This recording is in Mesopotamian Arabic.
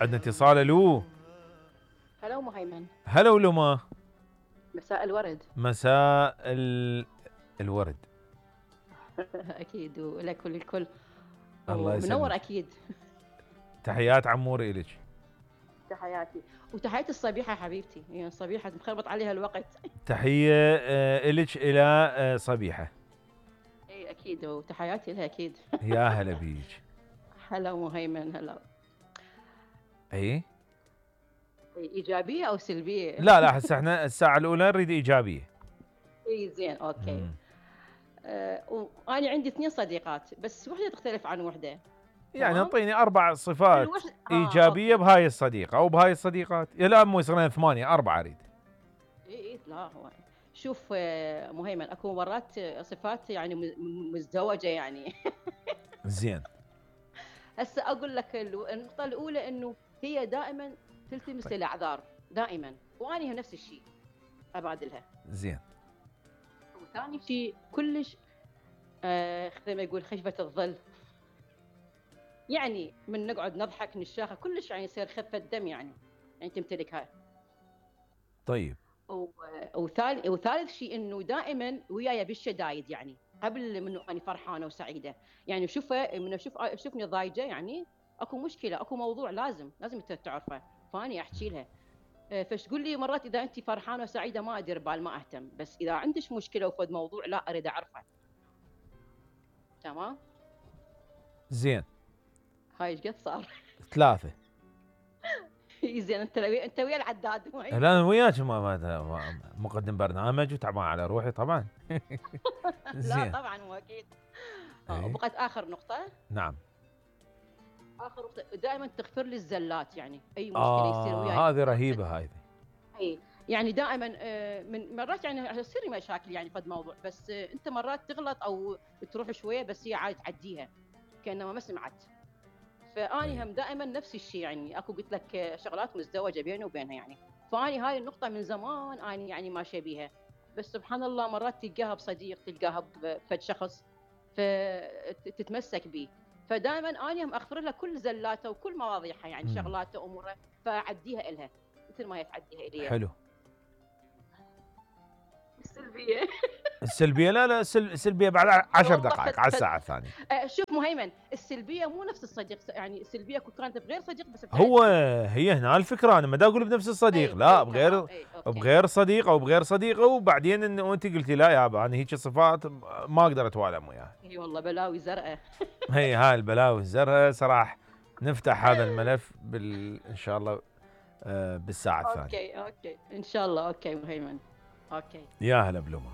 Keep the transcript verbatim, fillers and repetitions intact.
عندنا اتصال. الو. هلا ام هيمن. هلا ولما. مساء الورد. مساء ال... الورد. اكيد ولك وللكل. الله يسلمك. منور اكيد. تحيات عموري الك. تحياتي وتحياتي الصبيحه حبيبتي، يعني الصبيحه مخربط عليها الوقت. تحيه الك الى صبيحه. اي اكيد وتحياتي لها اكيد. يا هلا بيك. هلا ام هيمن. هلا. اي ايجابيه او سلبيه؟ لا لا هسه احنا الساعه الاولى نريد ايجابيه. اي زين اوكي. آه وانا عندي اثنين صديقات بس وحده تختلف عن وحده. يعني اعطيني اربع صفات الوحد... ايجابيه آه بهاي الصديقه او بهاي الصديقات. لا مو يصيرون ثمانيه اربعه اريد. اي اي لا هو شوف مهيمن اكو مرات صفات يعني مزدوجه يعني. زين. هسه اقول لك النقطه الاولى انه هي دائما تلتمس طيب. الاعذار دائما، واني نفس الشيء ابادلها. زين. وثاني شيء كلش آه زي ما يقول خشبه الظل، يعني من نقعد نضحك نشاخه كلش يعني يصير خفه دم يعني يعني تمتلكها. طيب. وثالث وثالث شيء انه دائما وياي بالشدايد، يعني قبل منه انا فرحانه وسعيده، يعني شوفه من اشوف اشوفني ضايجه يعني اكو مشكله اكو موضوع لازم لازم تعرفه، فاني احكي لها. فش تقول لي مرات اذا انت فرحانه وسعيده ما ادير بال ما اهتم، بس اذا عندك مشكله وفد موضوع لا اريد اعرفه. تمام. زين. هاي ايش قد صار؟ ثلاثه. زين انت ويا انت ويا العداد. لا انا وياك ما مقدم برنامج وتعبان على روحي طبعا. لا طبعا مو اكيد. وبقت اخر نقطه. نعم. اخر نقطه دائما تغفر لي الزلات، يعني اي مشكله آه يصير وياي. هذه رهيبه هذه. اي يعني دائما من مرات يعني تصير مشاكل يعني قد موضوع، بس انت مرات تغلط او تروح شويه بس هي عاد تعديها كانما ما سمعت. فاني هم دائما نفس الشيء، يعني اكو قلت لك شغلات مزدوجه بيني وبينها يعني. فاني هاي النقطه من زمان اني يعني ماشيه بيها، بس سبحان الله مرات تلقاها بصديق تلقاها بفد شخص فتتمسك به، فدائما اني هم اغفر لها كل زلاته وكل مواضيعها يعني شغلاته امورها فاعديها الها مثل ما هي تعديها الي. حلو. السلبيه السلبيه لا لا السلبيه بعد عشر دقائق على الساعه الثانيه. شوف مهيمن السلبيه مو نفس الصديق، يعني السلبيه كانت بغير صديق بس هو هي هنا الفكره. انا ما دا اقول بنفس الصديق. أي لا بغير بغير صديق او بغير صديقه، وبعدين انه انت قلتي لا يابا انا هيك صفات ما اقدر اتوالم وياها. اي والله بلاوي زرقاء. هي هاي البلاوي الزرقاء صراحه. نفتح هذا الملف بال ان شاء الله بالساعه الثانيه. اوكي اوكي ان شاء الله. اوكي مهيمن. اوكي. يا هلا بلومه.